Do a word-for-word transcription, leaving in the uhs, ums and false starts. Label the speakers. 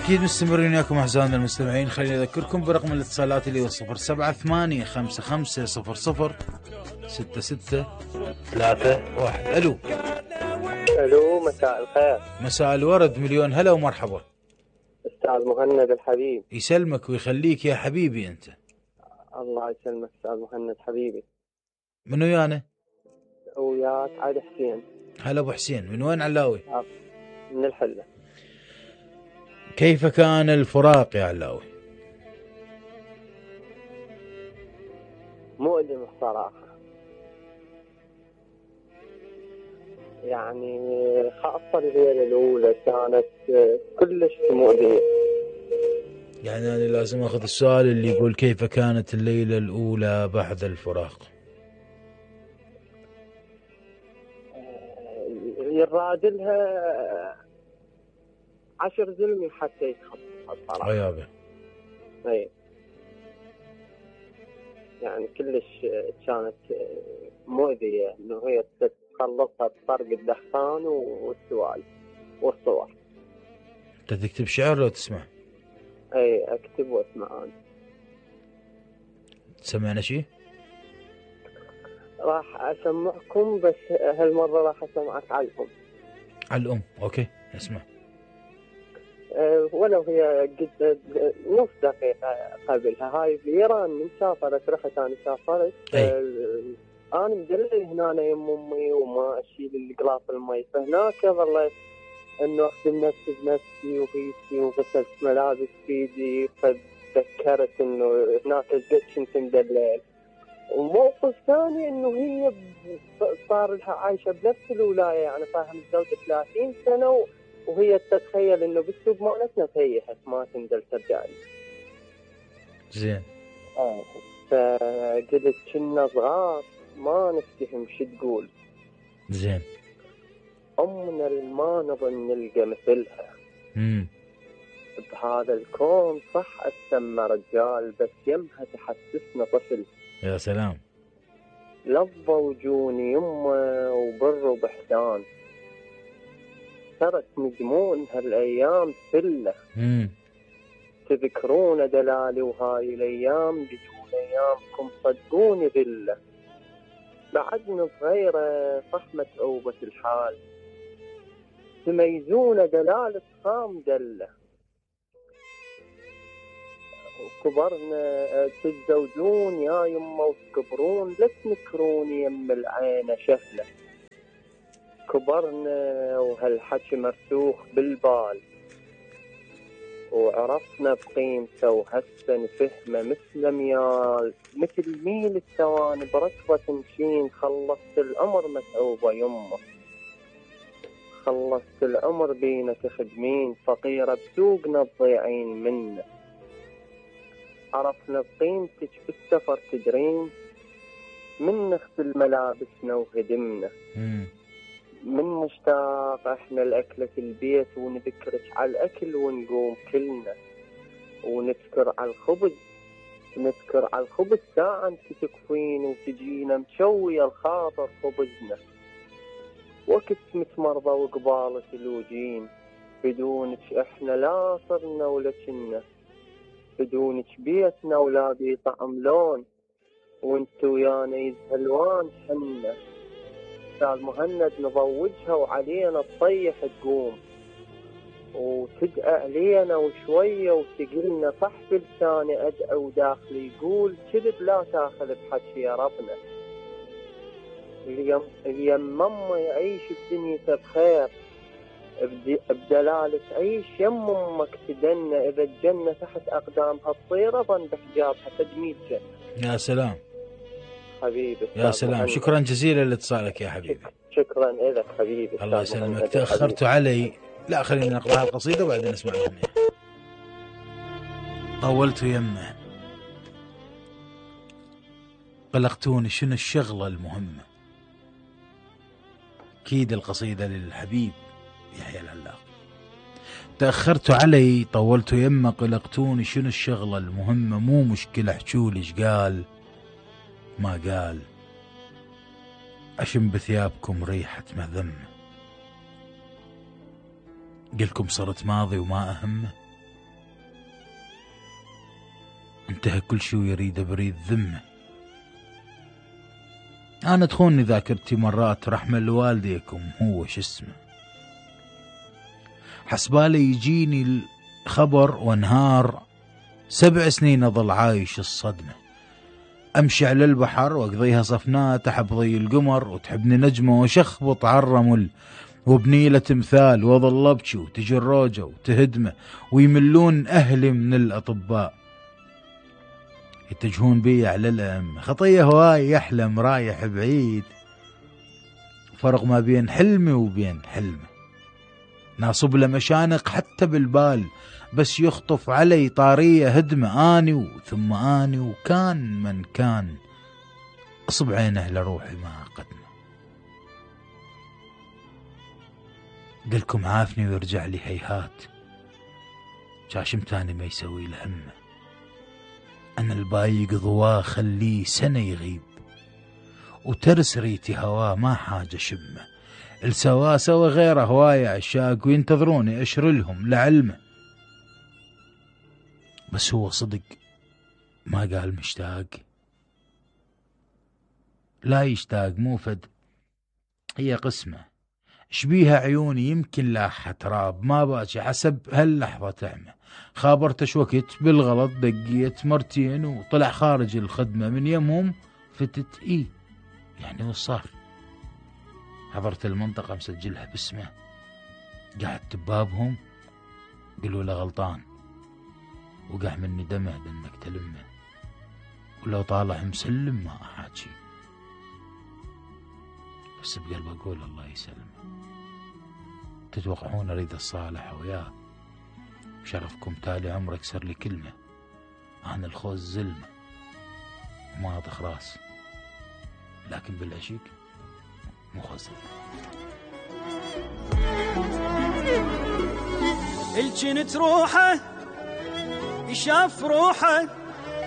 Speaker 1: أكيد مستمرين وياكم أعزائنا المستمعين. خليني أذكركم برقم الاتصالات اللي هو صفر سبعة ثمانية خمسة خمسة صفر صفر ستة ستة ثلاثة واحد. ألو
Speaker 2: ألو، مساء الخير.
Speaker 1: مساء الورد، مليون هلا ومرحبا.
Speaker 2: أستاذ مهند الحبيب.
Speaker 1: يسلمك ويخليك يا حبيبي أنت.
Speaker 2: الله يسلمك أستاذ مهند حبيبي.
Speaker 1: من ويانا؟
Speaker 2: وياك علي حسين.
Speaker 1: هلا أبو حسين، من وين علاوي؟
Speaker 2: من الحلة.
Speaker 1: كيف كان الفراق يا علاوي؟
Speaker 2: مؤلم الصراحة، يعني خاصة الليلة الأولى كانت كلش مؤلمة.
Speaker 1: يعني أنا لازم أخذ السؤال اللي يقول كيف كانت الليلة الأولى بعد الفراق؟
Speaker 2: يرادلها عشر زلمي حتى يتخطى الصراحة.
Speaker 1: عيابه.
Speaker 2: اي يعني كلش كانت مؤذية انه هي تخلصها بطرق الدخان والسوالف والصور.
Speaker 1: انت تكتب شعر لو تسمع؟
Speaker 2: اي اكتب واسمع. انا
Speaker 1: تسمعنا شيء؟
Speaker 2: راح اسمعكم، بس هالمرة راح اسمعك على الام.
Speaker 1: على الام، اوكي اسمع.
Speaker 2: أه ولو هي قد نص دقيقة قبلها. هاي بإيران من سافرت، رحت أنا سافرت. أه أنا مدلل هنا يم أمي وما أشيل القلاص المي، فهناك ظليت إنه أخدم نفسي بنفسي وغيثي وغسلت ملابس بيدي، فتذكرت إنه هناك قد كنت مدلل. وموقف ثاني إنه هي صار لها عايشة بنفس الولاية، يعني صار متزوجة ثلاثين سنة وهي تتخيل انه بالسوق مالتنا تيحت ما تندل ترجعني.
Speaker 1: زين.
Speaker 2: اه فقلت كنا صغار ما نفتهم شو تقول.
Speaker 1: زين.
Speaker 2: امنا ما نظن نلقى مثلها.
Speaker 1: امم
Speaker 2: بهذا الكون صح اسمى رجال، بس يمها تحسسنا طفل.
Speaker 1: يا سلام.
Speaker 2: لظى وجوني يمه وبر وبحسان، صارت نجمون هالايام سله.
Speaker 1: امم
Speaker 2: تذكرون دلالي وهاي الايام بدون ايامكم صدقوني ذله. بعدنا صغيره صح متعوبه الحال، تميزون دلالة خام دله. وكبرنا تتزوجون يا يمه وتكبرون، لا تنكروني يم العين شهله. كبرنا وهالحكي مرسوخ بالبال، وعرفنا بقيمته وهسه نفهمه مثل ميال، مثل ميل الثواني بركضة تمشين. خلصت العمر متعوبة يمه، خلصت العمر بينا تخدمين، فقيرة بسوقنا تضيعين منه. عرفنا بقيمتك بالسفر تدرين، من نغسل ملابسنا وهدمنا. من نشتاق احنا لأكلة البيت ونذكرك على الأكل ونقوم كلنا. ونذكر على الخبز، نذكر على الخبز ساعة انت تكفين وتجينا مشوية الخاطر خبزنا. وقت متمرضى وقبالة الوجين، بدونك احنا لا صرنا ولا كنا. بدونك بيتنا ولا بي طعم لون، وانت ويانا يزهلوان حنا. أستاذ مهند نضوجها وعلينا تطيح تقوم، وتدعى علينا وشوية وتقلنا صح بلساني أدعى وداخلي يقول كذب لا تاخذ بحكي يا ربنا. اليم ماما يعيش بدنيته بخير، بدلالة عيش يم أمك تدنى. إذا الجنة تحت أقدامها تصير ظن بحجابها تدمير جنة.
Speaker 1: يا سلام
Speaker 2: حبيبي
Speaker 1: يا سلام محمد. شكرا جزيلا لاتصالك يا حبيبي.
Speaker 2: شكرا لك حبيبي.
Speaker 1: الله يسلمك. تأخرت علي. لا خلينا نقرأ القصيدة وبعدين نسمع الأغنية. طولت يمه قلقتوني شنو الشغلة المهمة. أكيد القصيدة للحبيب يحيى العلاق. تأخرت علي طولت يمه قلقتوني شنو الشغلة المهمة. مو مشكلة احجولي ايش قال ما قال، أشم بثيابكم ريحة مذمة. قلكم صرت ماضي وما أهمه. انتهى كل شي ويريد بريد ذمه. انا تخوني ذاكرتي مرات رحمة لوالديكم هو شو اسمه، حسبالي يجيني الخبر وانهار سبع سنين اظل عايش الصدمة. امشي على البحر واقضيها صفناء تحت ضي القمر وتحبني نجمة وشخبط عالرمل وبنيلة تمثال واظل ابكي وتجي الروجة وتهدمه ويملون اهلي من الاطباء يتجهون بي على الام. خطية هواي يحلم رايح بعيد، فرق ما بين حلمي وبين حلمه. ناصب له مشانق حتى بالبال بس يخطف علي طارية هدمة. اني وثم اني وكان من كان اصب عينه لروحي ما قدمه. قلكم عافني ويرجع لي هيهات، شاشم تاني ما يسوي له همه. انا البايق ضواه خليه سنة يغيب وترس ريتي هواه ما حاجة شمه. السوا سوا غيره هواية عشاق وينتظروني اشر لهم لعلمه. بس هو صدق ما قال مشتاق، لا يشتاق مو فد هي قسمة. شبيها عيوني يمكن لاحة تراب ما باجي حسب هاللحظة تعمى. خابرتش وقت بالغلط دقيت مرتين وطلع خارج الخدمة من يمهم فتت ايه يعني وش صار. حضرت المنطقة مسجلها باسمه، قعدت ببابهم قالوا له غلطان وقع مني دمه بانك تلمه، ولو طالع مسلم ما احاجي بس بقلب اقول الله يسلمه. تتوقعون اريد الصالح وياه بشرفكم تالي عمر اكسر لي كلمة. انا الخوز زلمة وما اطخ راس لكن بالعشيق مو خوز.
Speaker 3: الجنت روحه يشاف روحه